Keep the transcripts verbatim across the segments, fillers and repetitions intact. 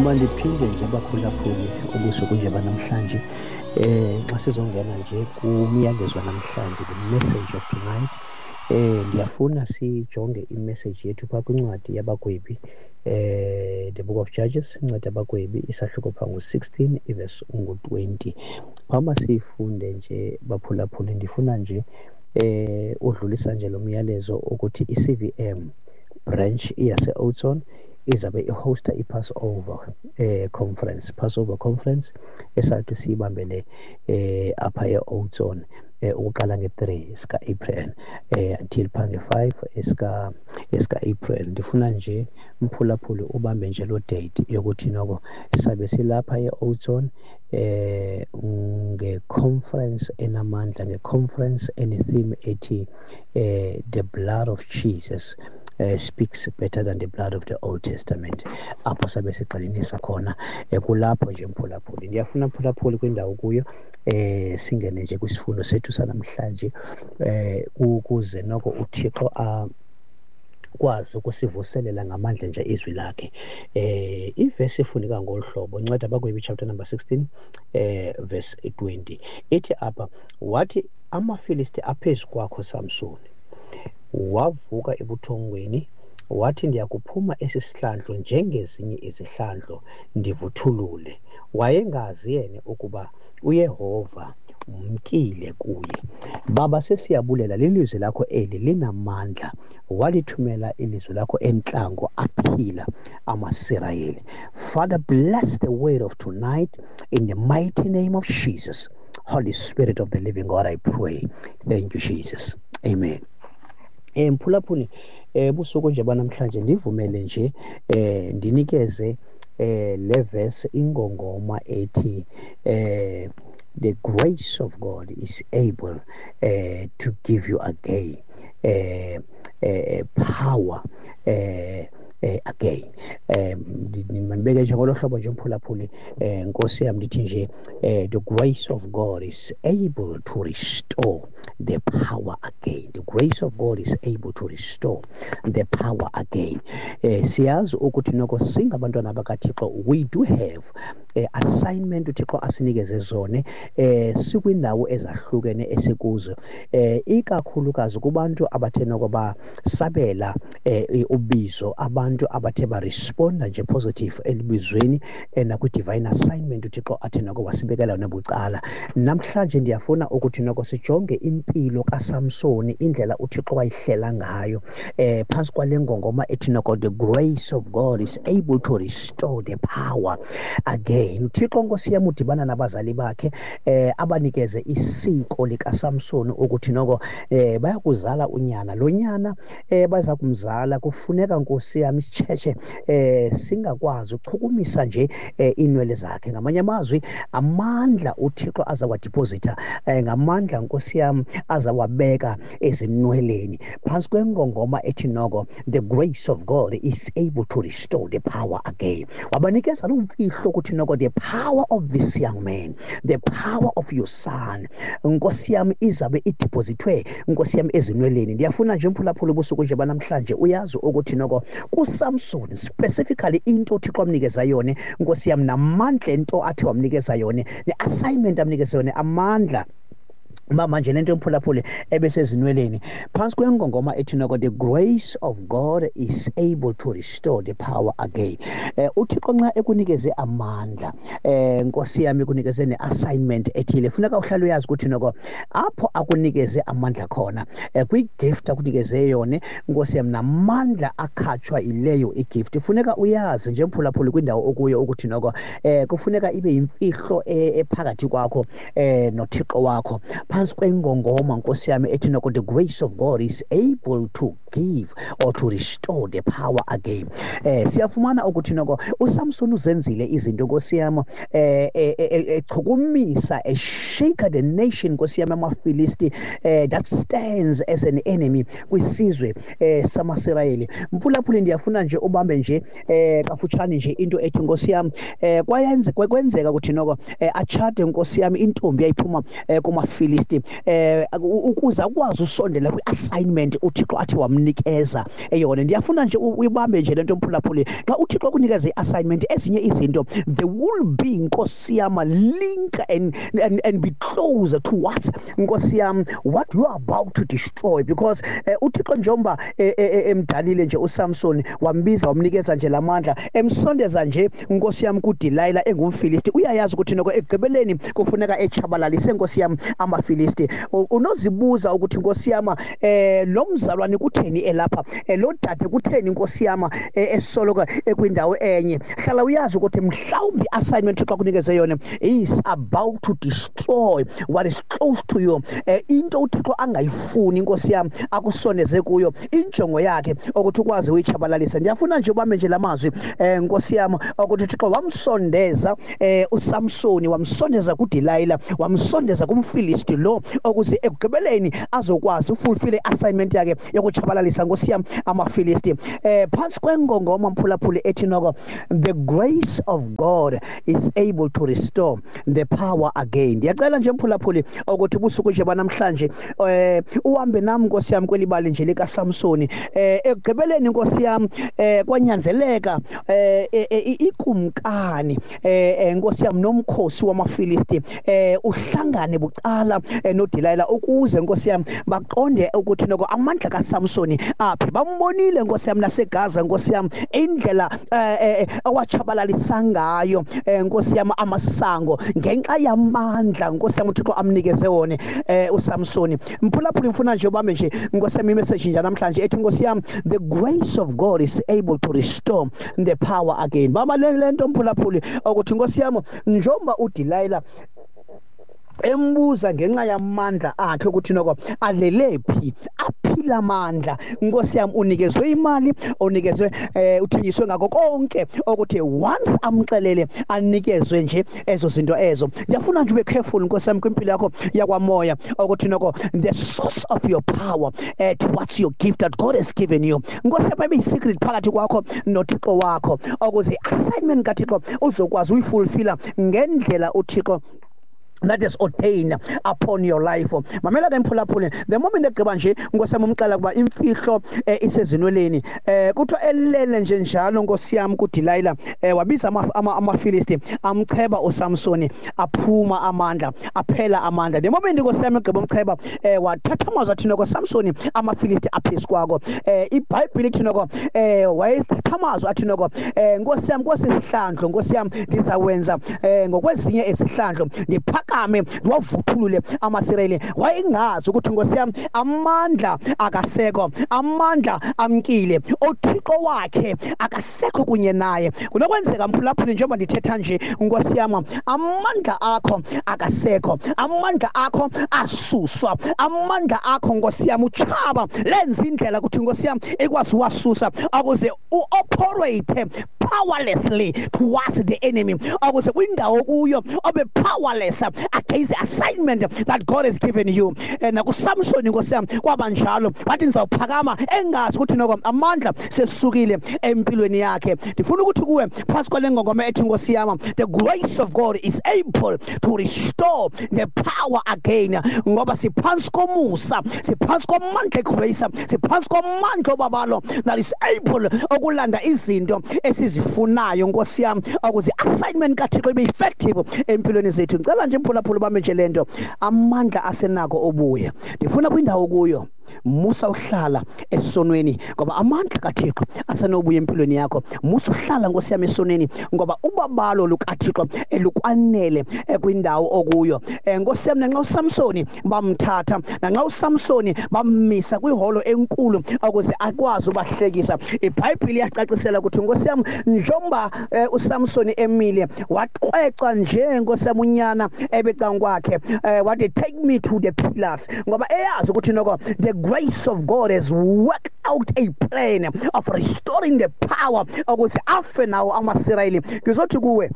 Mandiphinde nje baphulaphuli ubusuku nje banamhlanje, eh xa sizongena nje kumyalezo namhlanje, the message of tonight. Eh ndiyafuna sijonge imessage yethu phaa kwincwadi yabagwebi, eh the book of Judges, incwadi yabagwebi isahluko phaa ngu-sixteen ivesi ungu-twenty. Phambi siyifunde nje baphulaphuli, ndifuna nje eh udlulisa nje lo myalezo ukuthi i-C V M branch iyase-Oudtshoorn izabe ihosta i-Passover eh conference, Passover conference esathi siyibambele eh apha e-Oudtshoorn eh ukuqala nge-three sika-April eh until pha nge-five esika esika-April. Ndifuna nje mphulaphuli ubambe nje lo date yokuthi noko sabe silapha e-Oudtshoorn eh nge-conference enamandla, nge-conference ene-theme ethi eh the blood of Jesus Uh, speaks better than the blood of the Old Testament. Apho sabe sigxininisa khona kulapho nje mphulaphuli. Ndiyafuna mphulaphuli kwindawo kuyo eh singene nje kwisifundo sethu sanamhlanje eh ukuze noko uThixo a kwazi ukusivuselela ngamandla nje izwi lakhe. Eh ivesi ifundeka ngolu hlobo, incwadi abagwebi chapter number sixteen eh verse twenty. Ithi apha, wathi amaFilisti aphezu kwakho Samsoni. Wavuka ebuthongweni wathi ndiyakuphuma esi sihlandlo njengezinye izihlandlo ndivuthulule. Wayengazi yena ukuba uYehova umkile kuye. Baba, sesiyabulela lilizwi lakho eli linamandla, walithumela ilizwi lakho entlango aphila amaSirayeli. Father, bless the word of tonight in the mighty name of Jesus. Holy Spirit of the living God, I pray. Thank you, Jesus. Amen. Eh mphulaphuli, eh busuku nje banamhlanje ndivumele nje eh ndinikeze eh le verse ingongoma ethi eh the grace of God is able eh to give you again eh eh power eh eh again. Eh mandibeke nje ngolo hlobo nje mphulaphuli, eh Nkosi yami ndithi nje eh the grace of God is able to restore the power again. The grace of God is able to restore the power again. Eh siyazi ukuthi noko singabantwana bakaThixo, we do have eh, assignment uThixo asinikeze zone eh sikwindawo ezahlukene esikuzo, eh ikakhulukazi kubantu abathe noko basabela eh ubizo, abantu abathe baresponda nje positive elibizweni eh, nakwi divine assignment uThixo athe noko wasibekela yona bucala. Namhlanje ndiyafuna ukuthi noko sijonge impilo kaSamsoni, indlela uThixo wayihlela ngayo eh phansi kwale ngongoma ethi noko the grace of God is able to restore the power again. uThixo Nkosi yami udibana nabazali bakhe eh abanikeze isiko likaSamsoni ukuthi noko eh bayakuzala unyana, lo nyana eh baza kumzala kufuneka Nkosi yami isitshetshe eh singakwazi ukuchukumisa nje eh, inwele zakhe. Ngamanye amazwi, amandla uThixo azawadeposita eh, ngamandla Nkosi yami azawabeka ezinweleni phansi kwengongoma ethi noko the grace of God is able to restore the power again. Wabanikeza lo mfihlo ukuthi noko the power of this young man, the power of your son, Nkosi yami izabe idepositwe Nkosi yami ezinweleni. Ndiyafuna nje mphulaphula ubusuku nje banamhlanje uyazi ukuthi noko kuSamson specifically into uThixo amnikeza yona Nkosi yami, namandla into athi wamnikeza yona, ne-assignment amnikeza yona, amandla mama nje lento emphulaphule ebesezinweleni phansi kwengongoma ethi noko the grace of God is able to restore the power again. Eh uThixo nxa ekunikeze amandla eh Nkosi yami ekunikeze ne-assignment ethile, funeka uhlale uyazi ukuthi noko apho akunikeze amandla khona eh, kwi-gift akunikeze yona Nkosi yami namandla akhatshwa ileyo igift. Funeka uyazi nje mphulaphule kwindawo okuyo ukuthi noko eh kufuneka ibe yimfihlo ephakathi kwakho eh noThixo wakho phansi kwengongoma Nkosi yami ethi noko the grace of God is able to give or to restore the power again. Eh siyafumana ukuthi noko uSamson uzenzile izinto Nkosi yami eh echukumisa e shake the nation Nkosi yami amaFilisti eh that stands as an enemy kwisizwe eh samaSirayeli. Mphulaphuli ndiyafuna nje ubambe nje eh kafutshane nje into ethi Nkosi yami eh kwayenze kwenzeka ukuthi noko achate Nkosi yami intombi yayiphuma kumaFilisti eh ukuze akwazi usondela kwi-assignment uThixo athi wamnikeza eyona. Ndiyafuna nje uyibambe nje lento mphulaphuli, xa uThixo akunikeza ekunikeza i-assignment, ezinye izinto they will be, Nkosi yam, link and, and, and be closer towards, Nkosi yam, what you are about to destroy. Because uh, uThixo njengoba emdalile nje uSamson, wambiza wamnikeza nje lamandla, emsondeza nje, Nkosi yam, kuDelilah engumFilisti, uyayazi ukuthi noko ekugqibeleni kufuneka echabalalise, Nkosi yam, amaFilisti. Unozibuza ukuthi, Nkosi yam, eh lo mzalwane kutheni elapha, lo dade kutheni, Nkosi yam, esoloko ekwindawo enye? Hlala uyazi ukuthi mhlawumbi assignment uThixo akunikeze yona is about to destroy what is close to you. Into uThixo angayifuni, Nkosi yam, akusondeze kuyo, injongo yakhe ukuthi ukwazi uyichabalalisa. Ndiyafuna nje ubambe nje lamazwi, eh Nkosi yam, ukuthi uThixo wamsondeza eh uSamsoni, wamsondeza kuDelilah, wamsondeza kumFilisti lo, ukuze ekugqibeleni azokwazi ufulfill i-assignment yakhe yokuchabalalisa, Nkosi yam, amaFilisti. Eh phansi kwengongoma, mphulaphuli, ethi noko the grace of God is able to restore the power again. Ndiyacela nje, mphulaphuli, ukuthi ubusuku nje banamhlanje eh uhambe nami, Nkosi yami, kwelibali nje lika Samsoni. eh ekugqibeleni, Nkosi yami, eh kwanyanzeleka eh ikumkani, eh Nkosi yami, nomkhosi wamaFilisti eh uhlangane bucala noDelilah, ukuze, Nkosi yami, baqonde ukuthi noko amandla kaSamsoni aphi. Bambonile, Nkosi yami, naseGaza, Nkosi yami, indlela awachabalalisa ngayo, Nkosi yami, amasango ngenxa yamandla, Nkosi yami, uThixo amnikeze wona uSamsoni. Mphulaphuli, mfuna nje ubambe nje, Nkosi yami, imessage nje namhlanje ethi, Nkosi yami, the grace of God is able to restore the power again. Baba le nto, mphulaphuli, ukuthi, Nkosi yami, njengoba uDelilah embuza ngenxa yamandla akhe ukuthi noko alele phi, aphila amandla, Nkosi yami, unikezwe imali, unikezwe eh uthengiswe ngakho konke, ukuthi once amxelele anikezwe nje ezo zinto ezo. Ndiyafuna nje ube careful, Nkosi yami, kwimpilo yakho yakwamoya, ukuthi noko the source of your power eh towards your gift that God has given you, Nkosi yami, ibe secret phakathi kwakho noThixo wakho, ukuze assignment kaThixo uzokwazi uyifulfilla ngendlela uThixo that is ordained upon your life. Mamela ke, mphulaphuli, the moment egqiba nje, Nkosi yami, umxela kuba imfihlo eh, isezinweleni, eh kuthiwa elele nje njalo, Nkosi yami, kuDelilah, eh wabiza amaFilisti, amcheba uSamsoni, aphuma amandla, aphela amandla. The moment, Nkosi yami, egqiba umcheba, eh wathatha amazwi athi noko Samsoni, amaFilisti aphezu kwakho. eh iBhayibheli ithi noko eh wayethatha amazwi athi noko, eh Nkosi yami, kwesihlandlo, Nkosi yami, ndizawenza eh ngokwezinye izihlandlo, ndiphakame ndiwavuthulule amaSirayeli. Wayengazi ukuthi, Nkosi yami, amandla akasekho, amandla amkile, uThixo wakhe akasekho kunye naye. Kunokwenzeka, mphulaphuli, njengoba ndithetha nje, Nkosi yami, amandla akho akasekho, amandla akho asuswa, amandla akho, Nkosi yami, utshaba lenza indlela ukuthi, Nkosi yami, ikwazi uwasusa, ukuze uoperate powerlessly towards the enemy, ukuze kwindawo kuyo obe powerless against the assignment that God has given you. Eh, nakuSamson, Nkosi yami, kwaba njalo, wathi ngizawuphakama, engazi ukuthi noko amandla sesukile empilweni yakhe. Ndifuna ukuthi kuwe, phasi kwale ngongoma ethi, Nkosi yami, the grace of God is able to restore the power again, ngoba siphansi komusa, siphansi kwamandla egrace, siphansi kwamandla obabalo that is able okulanda izinto esizifunayo, Nkosi yami, ukuze assignment kaThixo ibe effective empilweni zethu. Ngicela nje, mphulaphula, bame nje lento, amandla asenako obuya. Ndifuna kwindawo kuyo, musa uhlala esonweni, ngoba amandla kaThixo asenobuya empilweni yakho. Musa uhlala, Nkosi yami, esonweni, ngoba ubabalo lukaThixo elukwanele kwindawo okuyo. Nkosi yami, nanxa uSamsoni bamthatha, nanxa uSamsoni bammisa kwiholo enkulu ukuze akwazi ubahlekisa, iBhayibheli iyacacisela ukuthi, Nkosi yami, njengoba uSamsoni emile, waqweca nje, Nkosi yami, unyana ebecanga kwakhe, wathi, "Take me to the pillars," ngoba eyazi ukuthi noko the grace of God has worked out a plan of restoring the power ukuze afe nawo amaSirayeli. Ngizothi kuwe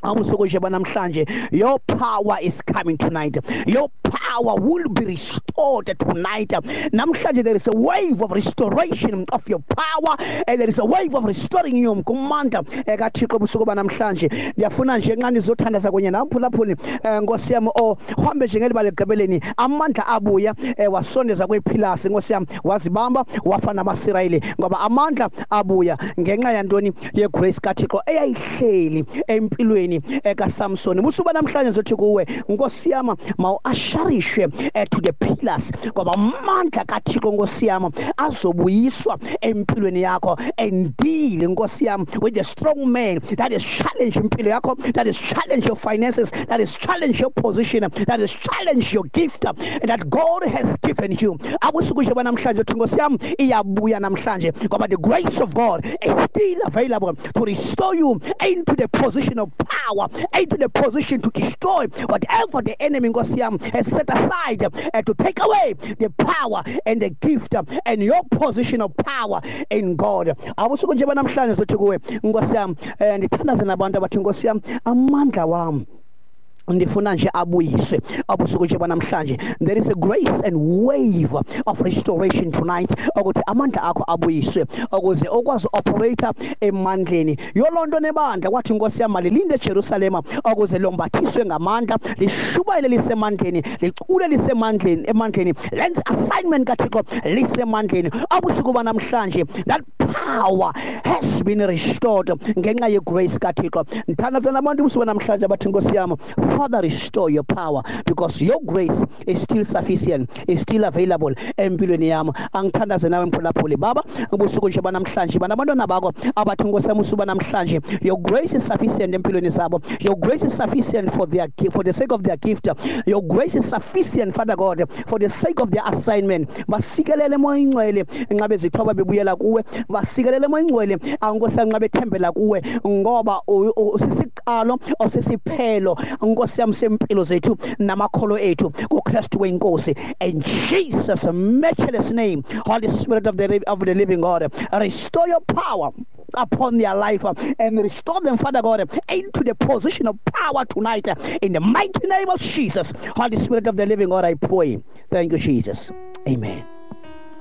Ubusuku nje banamhlanje, your power is coming tonight. Your power will be restored tonight. Namhlanje there is a wave of restoration of your power, and there is a wave of restoring you kumandla kaThixo ubusuku banamhlanje. Ndiyafuna nje nxa nizothandaza kunye nam phulaphuli, Nkosi yam, o uhambe nje ngeliba legqibeleni, amandla abuya wasondeza kwephilasi, Nkosi yam, wazibamba wafa namaSirayeli, ngoba amandla abuya ngenxa yantoni? Yegrace kaThixo eyayihleli empilweni kaSamson. Busuku namhlanje ngizothi kuwe, Nkosi yam, mawuasharishwe to the pillars, ngoba amandla kaThixo, Nkosi yam, azobuyiswa empilweni yakho, and deal, Nkosi yam, with the strong man that is challenge impilo yakho, that is challenge your finances, that is challenge your position, that is challenge your gift that God has given you. Abusuku nje namhlanje uthi, Nkosi yam, iyabuya namhlanje, ngoba the grace of God is still available to restore you into the position of power, into the position to destroy whatever the enemy, Nkosi yam, has set aside uh, to take away the power and the gift uh, and your position of power in God. Abusuku nje namhlanje sithi kuwe, Nkosi yam, ndithandaze nabantu abathi, Nkosi yam, amandla wam ndifuna nje abuyiswe. Abusuku nje namhlanje there is a grace and wave of restoration tonight, ukuthi amandla akho abuyiswe ukuze ukwazi operate emandleni yolonto nebandla. Kwathi, Nkosi yam, malilinde eJerusalem ukuze lombathiswe ngamandla, lishubayele lisemandleni, licule lisemandleni, emandleni, lenze assignment kaThixo lisemandleni. Abusuku banamhlanje that power has been restored ngenxa yegrace kaThixo. Ndithandaza nabantu ubusuku namhlanje abathi, Nkosi yam, Father, restore your power, because your grace is still sufficient, is still available empilweni yam. Angithandaze nawe mphulaphuli, Baba, ubusuku nje banamhlanje banabantwana bakho abathi, Nkosi yam, usuku namhlanje your grace is sufficient empilweni zabo. Your grace is sufficient for their for the sake of their gift. Your grace is sufficient, Father God, for the sake of their assignment. Basikelele Moya Ingcwele nxa bezithoba bebuyela kuwe, basikelele Moya Ingcwele, Nkosi yam, nxa bethembela kuwe, ngoba usisiqalo osisiphelo, Nkosi yam, sempilo zethu namakholo ethu kuKristu wenkosi. In Jesus' matchless name, Holy Spirit of the of the living God, restore your power upon their life and restore them, Father God, into the position of power tonight, in the mighty name of Jesus. Holy Spirit of the living God, I pray. Thank you, Jesus. Amen.